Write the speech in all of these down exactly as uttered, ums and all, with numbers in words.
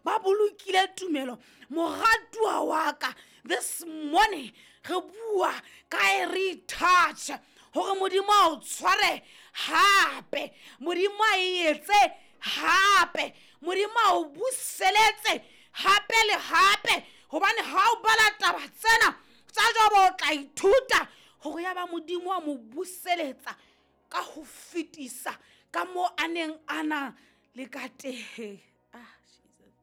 Ba bolokile tumelo. Moratuwa wa ka, this morning re bua ka e retouch hore Modimo a o tshware hape, Modimo a e etse hape, Modimo a o buseletse hape le hape. Hobane ha o bala taba tsena tsa Jobo, o tla ithuta hore ya ba Modimo a mo buseletsa ka ho fetisa ka moo a neng a na le ka teng. Ah, Jesus.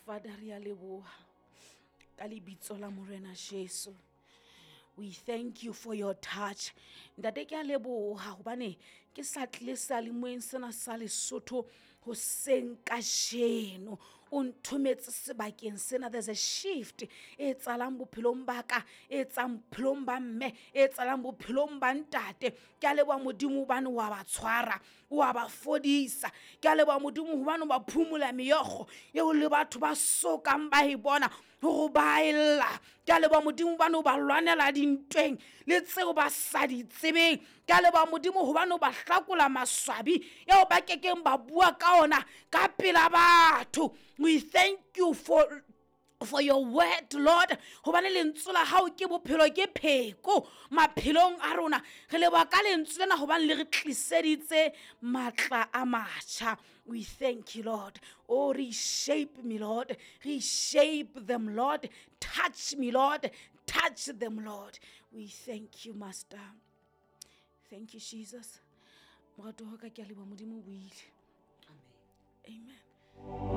Father, re a leboha ka lebitso la Morena Jesu. We thank you for your touch. Ntate, ke a leboha hobane ke sa tlile seyalemoyeng sena sa Lesotho hoseng kajeno. O nthometse sebakeng sena. There's a shift e etsahalang bophelong ba ka, e etsang bophelong ba mme, e etsahalang bophelong ba ntate. Ke a leboha Modimo hobane wa ba tshwara, wa ba fodisa. Ke a leboha Modimo hobane o ba phumola meokgo eo le batho ba sokang ba e bona hore ba ella. Ke a leboha Modimo hobane o ba lwanela dintweng le tseo ba sa di tsebeng. Ke a leboha Modimo hobane o ba hlakola maswabi eo ba kekeng ba bua ka ona ka pela batho. We thank you for for your word, Lord. Hobane lentswe la hao ke bophelo, ke pheko maphelong a rona. Re leboha ka lentswe lena hobane le re tliseditse matla a matjha. We thank you, Lord. Oh, reshape me, Lord. Reshape them, Lord. Touch me, Lord. Touch them, Lord. We thank you, Master. Thank you, Jesus. Moratuwa wa ka, ke a leboha. Modimo o buile. Amen. Amen.